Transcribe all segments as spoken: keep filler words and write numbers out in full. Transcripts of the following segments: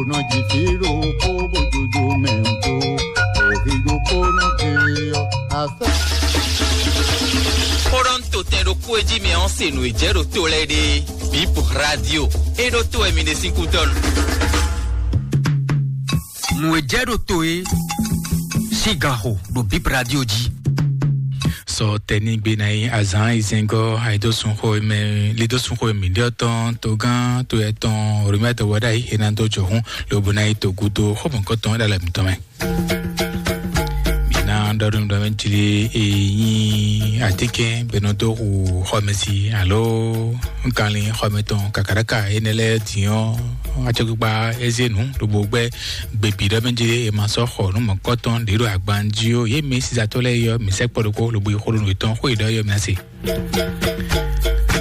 Nɔ ji fí ɖokpó bó dodo mɛ ŋkó, òhì ɖokpó nɔ ji ɔ asá. Kóɖɔn to tɛn ɖokpó e jí mi ɔn se nǔ e jɛ ɖo to lɛ ɖe. Bip radio e ɖo to wɛ mi ɖe sín kútɔnu. Nǔ e jɛ ɖo to e sín gan xo ɖo Bip radio jí. Sɔ tɛnigbe ná yi azǎn izɛngɔ́ ayidósunxó e mɛ lidósunxó e mǐ ɖe ɔ́ tɔn togán to etɔn Romɛ́ dɔwɔɖ'ayǐ e ná dó jɔhún lobo ná yi to gúdo xɔmɔ̌kɔtɔn ɖo alɔ mǐtɔn mɛ. Mǐ ná ɖɔ nú mi ɖɔ mɛ jlí e nyí atínkɛn bɛnɔ dó hu xɔmɛsi alo kanlin xɔmɛ tɔn kakaɖaka énɛ́ lɛ́ɛ din ɔ́, acɔkpikpa é zé nǔ lobo gbɛ́ gbebi ɖɔ mɛ jlí e ma sɔ́ xɔ nǔ mɔ̌kɔtɔn ɖě ɖo agban jí ó. Yě mɛ sísatɔ́ lɛ́ɛ yɔ mǐ sɛkpɔ́ ɖokpó lobo yi xó ɖo nǔ yětɔn xó e ɖɔ yɔ mǐ ná se.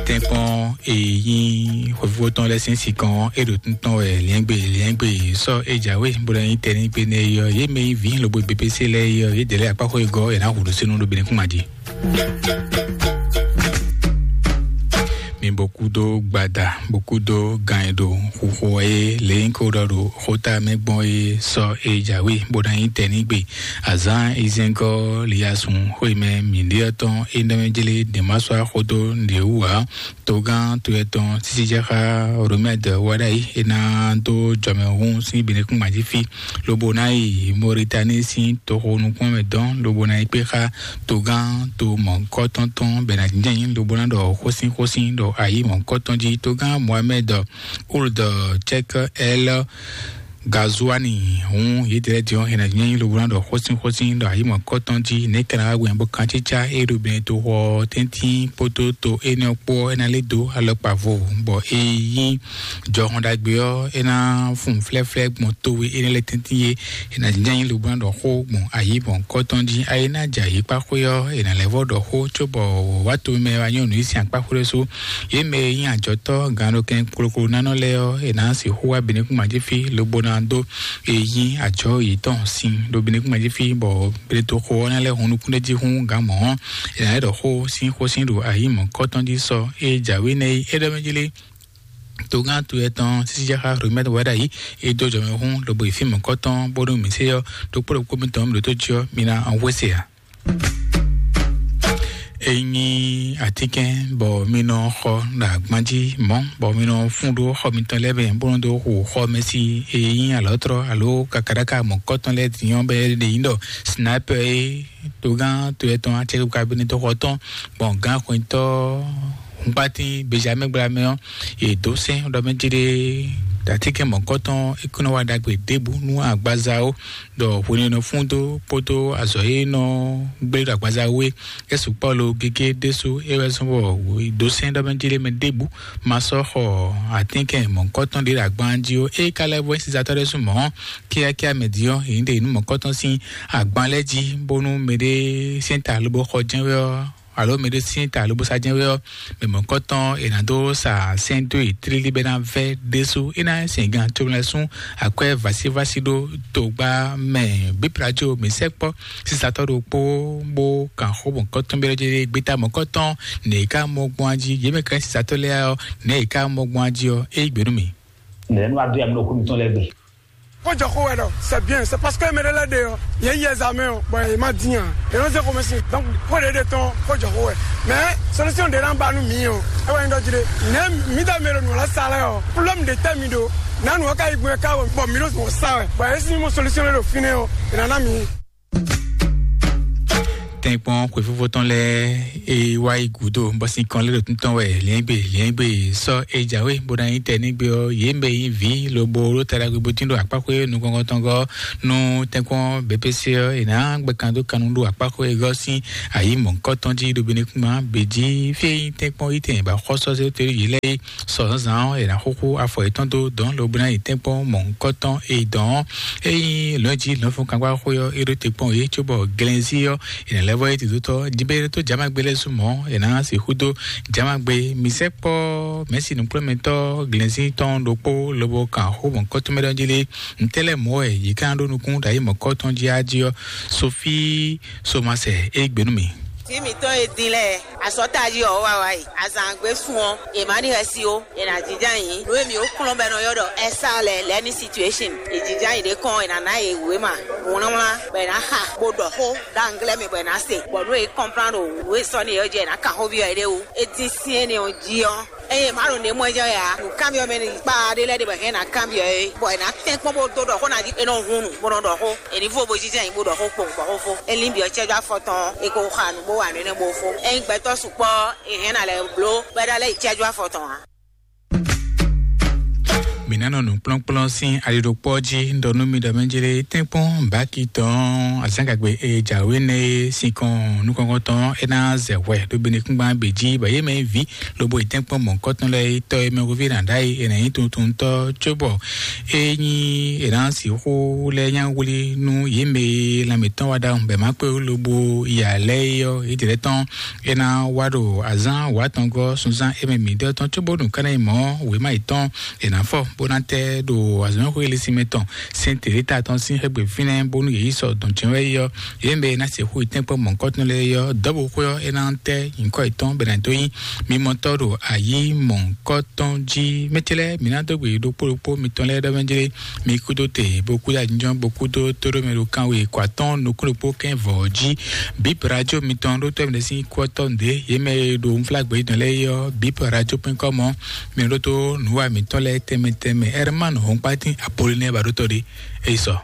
Tɛ́nkpɔ́n e nyí xwefífó tɔn lɛ́ɛ sín sinkɔn ɔ́, é ɖo tún tɔn wɛ liɛ́ngbé liɛ́ngbé sɔ́ é jǎwe bó ná nyí tɛnigbe nɛ́ é ɔ́, yě mɛ nyí vǐ lobo B P C lɛ́ɛ é ɔ́, yědɛɛ lɛ́ɛ akpá xó e gɔ́ è nǎ hu ɖo sínú ɖo bǐ ní kún ma jí. Mi bó kúdó gbada bó kúdó gan e ɖo xuxo e lě nyí kó ɖɔ ɖo xóta mɛ gbɔn e sɔ́ é jǎwe bó ná nyí tɛnigbe. Azǎn izɛngɔ́ liyasun xwé mɛ mǐɖíɔ́ tɔn é nɛ́ mɛ jlé ɖě ma sɔ́ axó dó nǔɖé wú ǎ. Togán to etɔn sísíjɛxá Romɛ́d wá ɖ'ayǐ é ná dó jɔmɛhún sín binukún gbají fí, lobo ná yi Mɔritani sín toxo nukún mɛ dɔn, lobo ná yi kpé xá togán to mɔ̌kɔtɔn tɔn bɔ è nǎ jínjɔ́n ayǐ, lobo ná ɖɔ xósin xósin ɖo ayǐ mɔ̌kɔtɔn jí. Togán Mohamɛd Old Cɛk Ɛl Gazuani hǔn yědɛɛ lɛ́ɛ din ɔ́, è nǎ nyí lobo ná ɖɔ xósin xósin ɖɔ ayǐ mɔ̌kɔtɔn jí. Nɛ̌ ka ná wá gbɛn bɔ kancícá e ɖo bɛn toxo ɔ́ tɛ́ntin kpódó to énɛ́ ɔ́ kpó ɔ́, é ná lɛ́ dó alɔkpa vo, bɔ é nyí jɔhɔn ɖagbe ɔ́, é ná fun flɛ́flɛ́ gbɔn towe énɛ́ lɛ́ɛ tɛ́ntin é. È nǎ nyí lobo ná ɖɔ xó gbɔn ayǐ mɔ̌kɔtɔn jí. Ayé ná jɛ ayǐkpá xwé ɔ́, è nǎ lɛ́ vɔ́ ɖɔ xó cóbɔ wǎ tomɛ wá nyɔ́ nǔ yi sin akpá xwé sú. Yě mɛ e nyí ajɔ̌tɔ́ gannokɛn kplokplo nánɔ lɛ́ɛ ɔ́, è nǎ sixú wá binukún gbají fí lobo ná dó e nyí ajɔ̌ yětɔn sin ɖo binukún gbají fí, bɔ gletoxo ɔ́ ná lɛ́ hun nukún ɖé jí hún gǎn mɔ̌ ɔ́, è nǎ lɛ́ ɖɔ xó sín xósin ɖo ayǐ mɔ̌kɔtɔn jí sɔ e jǎwe nɛ́ é ɖɔ mɛ jí lé. Togán to etɔn sísíjáxá Romɛ́t wá ɖ'ayǐ é dó jɔmɛhún lobo yi fí mɔ̌kɔtɔn bónú mǐ sé ɔ́ ɖokpó ɖokpó mitɔn mi ɖǒ tó jí ɔ́, mi ná hwesé ǎ. É nyí atínkɛn bɔ mi nɔ xɔ ɖo agban jí mɔ̌, bɔ mi nɔ fún ɖó xɔ mitɔn lɛ́ɛ mɛ bó nɔ dó xo xɔ mɛ sí e nyí alɔ̌tlɔ alo kakaɖaka mɔ̌kɔtɔn lɛ́ɛ din ɔ́ bɔ é ɖe nyí ɖɔ sniper e togán to etɔn acɛkpikpa binitɔ́ xɔ tɔn gbɔn gǎn xwetɔ́ hunkpatín Benjamin gbla mɛ ɔ́, yě dó sɛ́n ɖɔ mɛ jí ɖé atínkɛn mɔ̌kɔtɔn é kún nɔ wa ɖagbe ɖěbǔ nú agbaza ó. Ɖɔ hwenɛ́nu fún dó kpódó azɔ̌ e nɔ gblé ɖo agbaza wú é, é sukpɔ́ lo gégé ɖésú é wɛ zɔ́n bɔ dǒsɛ́n ɖɔ mɛ jí lé mɛ ɖěbǔ ma sɔ́ xɔ atínkɛn mɔ̌kɔtɔn ɖé ɖo agban jí ó. É ka lɛ́ vɔ é sisatɔ́ ɖésú mɔ̌ kíákíá mɛ din ɔ́, yě ɖe nǔ mɔ̌kɔtɔn sín agban lɛ́ɛ jí, bónú mɛɖé sɛ́n ta lobo xɔ jɛ́n wɛ ɔ́, alo mɛɖé sín ta lobo sa jɛ́n wɛ ɔ́, mɛ mɔ̌kɔtɔn è nǎ dó sa sɛ́n dó yi tlílí bɔ é ná vɛ́ ɖésú. É ná sɛn gan comlɛsún akwɛ́ vásívásí ɖó togba mɛ bíplajo mǐ sɛkpɔ́ sisatɔ́ ɖokpó bó kan xó mɔ̌kɔtɔn byɔ́ jɛ gbeta mɔ̌kɔtɔn nɛ̌ ká mɔ gbɔn jí yě mɛ ká nyí sisatɔ́ lɛ́ɛ ɔ́, nɛ̌ yě ká mɔ gbɔn jí ɔ́, é yí gbe nú mì. Nɛ̌ nɔ adó ya mi ɖo xó mitɔn lɛ́ɛ gbe. Kó jɔ xó wɛ ɖɔ c'est bien, c'est parce que mɛ ɖé lɛ́ɛ ɖe ɔ́, yě yi ɛzamɛ ɔ́, bɔ yě ma dín ǎ, yě nɔ zé xomɛ sin. Donc xó ɖě ɖe tɔn kó jɔ xó wɛ. Mais solution ɖě ná ba nú mǐ ɔ́, é wɛ nyí ɖɔ jí ɖé. Nɛ̌ mǐ ɖɔ mɛ ɖo nǔ lɛ́ɛ sa lɛ́ɛ ɔ́, problème ɖě tɛ́ mi ɖo. Nǎ nǔ ɔ́ ka yi gbɔn ɛ ká wɛ, bɔ mǐ ɖo nǔ ɔ́ sa wɛ. Bɔ yě sín mɔ solution ɖé ɖo fínɛ́ ɔ́, è nǎ ná mǐ. Tɛ́nkpɔ́n xwefífó tɔn lɛ́ɛ e wá yi gǔdo bɔ sín kɔn lé ɖo tún tɔn wɛ liɛ́ngbé liɛ́ngbé sɔ́ e jǎwe bó ná nyí tɛ nígbé ɔ́, yě mɛ nyí vǐ lobo ɖó taɖagbe bó tín ɖo akpáxwé nukɔn tɔn gɔ́ nú tɛ́nkpɔ́n B P C ɔ́, è nǎ gbɛ kan dó kannu ɖo akpáxwé e gɔ́ sín ayǐ mɔ̌hunkɔtɔn jí ɖo Benɛkúma bě jí. Fí e nyí tɛ́nkpɔ́n yí tɛn bɔ xɔ́sɔ́ zé tóli yě lɛ́ɛ é sɔ zǎnzǎn ɔ́, è nǎ xúxú afɔ yětɔn dó dɔ̌n lobo ná yi tɛ́nkpɔ́n mɔ̌hunkɔtɔn e dɔn ɔ́. Ényí lɔ̌nji lɔ̌nfɔ́nkangbáxwé ɔ́ é ɖó te kpɔ́n yě cóbɔ glɛnzí ɔ́, è nǎ lɛ́ vɔ é dǐdó tɔ́ díbɛ́ tó jamagbe lɛ́ɛ sú mɔ̌, è nǎ sixú dó jamagbe. Mǐ sɛkpɔ́ mɛ̌si nǔkplɔ́nmɛtɔ́ glɛnzí tɔn ɖokpó lobo kan xó mɔ̌kɔ́tɔ́ mɛ ɖɔ jí lé. Ntɛ́ lɛ́ɛ mɔ̌ wɛ yě ká ɖó nukún ɖo ayǐ mɔ̌kɔ́tɔn jí á jí ɔ́? Sofíi Somasɛ é gbe nú mì. Tí mǐtɔn e din lɛ́ɛ, asɔ́tají ɔ́ wá wá yi, azǎngbe sun ɔ́, è má ɖi xɛsi ó, è nǎ jínjɔ́n ayǐ. Nǔ e mǐ ó kplɔ́n bɔ è nɔ ylɔ́ ɖɔ ɛ́sá lɛ́ɛ, lɛ́ní situation, è jínjɔ́n ayǐ ɖé kɔn, è nǎ ná yě wěma wlánwlán, bɔ è nǎ xa, bó ɖɔ xó ɖo anglɛ́ mɛ, bɔ è nǎ se, bɔ nú è kɔnplán ɖo nǔ e sɔ́ n'i é ɔ́ jí, è nǎ kan xóví ɔ́ éɖée wú. É dín syɛ́n nɛ́ ɔ́ jí ɔ́, eye má ɖo nɛ̌ mɔ jɔ ya nǔkanbyɔ́ mɛ ní kpa ɖé lɛ́ɛ ɖe bɔ hɛn ná kanbyɔ́ é, bɔ è nǎ tɛ́n kpɔ́n bó dó ɖɔ xó ná jí, è nɔ hun nǔ bó nɔ ɖɔ xó, è ní vo bo jínjɔ́n ayǐ bó ɖɔ xó kpowun bɔ xó fó. É lín byɔ́ cɛ́jú afɔ tɔn ɔ́, è ko xa nǔ bó wa nǔ énɛ́ bó fó. Ényí gbɛtɔ́ sukpɔ́ ɔ́, è hɛn ná lɛ́ bló bɔ é ná lɛ́ yi cɛ́jú afɔ tɔn ǎ. Mǐ ná nɔ nǔkplɔ́nkplɔ́n sín aliɖokpɔ́ jí. Un ɖɔ nú mi ɖɔ mɛ jlé tɛ́nkpɔ́n báki tɔn azǎngagbe e jǎwe nɛ́ é sinkɔn nukɔntɔn é ná zɛ hwɛ ɖo benekúngban bǐ jí, bɔ yě mɛ vǐ lobo yi tɛ́nkpɔ́n mɔ̌hunkɔtɔn lɛ́ɛ yi tɔ́ e mɛ hweví ná ɖ'ayǐ è nǎ nyí tuntuntɔ́ cóbɔ é nyí è nǎ sixú lɛ́ nyá wlí nú yě mɛ e lanmɛ tɔn wá ɖ'awun bɔ è má kpé lobo ya lɛ́ɛ é ɔ́, yědɛɛ tɔn é ná wá ɖo azǎn wǎtɔngɔ́ sunzán é mɛ mǐdɛɛ tɔn cóbónú ká ná nyí mɔ̌ wěma yětɔn è nǎ fɔ bó ná tɛ ɖo azɔ̌mɛxwé Elísimɛ tɔn, Sɛ́n Teréta tɔn sín xɛgbɛ fínɛ́ bónú yě yi sɔ dɔn jɛ́n wɛ é ɔ́, yě mɛ e ná se xó yi tɛ́nkpɔ́n mɔ̌hunkɔtɔn lɛ́ɛ é ɔ́, dɔ̌bǔxwé ɔ́ é ná tɛ nyǐkɔ yětɔn bɔ è nǎ dó nyí mimɔtɔ́ ɖo ayǐ mɔ̌hunkɔtɔn jí. Mɛ ce lɛ́ɛ, mǐ ná dó gbe ɖokpó ɖokpó mitɔn lɛ́ɛ ɖɔ mɛ jlé, mi kúdó te bó kúdó ajínjɔ́n bó kúdó tóɖómɛ ɖo kanwe kɔ atɔ́ɔ́n nukún ɖokpó kɛ́n vɔ̌ jí. Bip radio mitɔn ɖó tɔ́ mǐɖée sín kú ɔ́ tɔ́ nǔɖé, yě mɛ e ɖo unflágbé dɔn lɛ́ɛ é ɔ́, bip radio point com ɔ́, mi ɖótó nǔwa mǐtɔn lɛ́ɛ tɛnmɛ tɛnmɛ. Ɛrman Hɔnkpatín Apolinɛ́ɛ ba ɖó tɔ́ ɖé, é yi sɔ.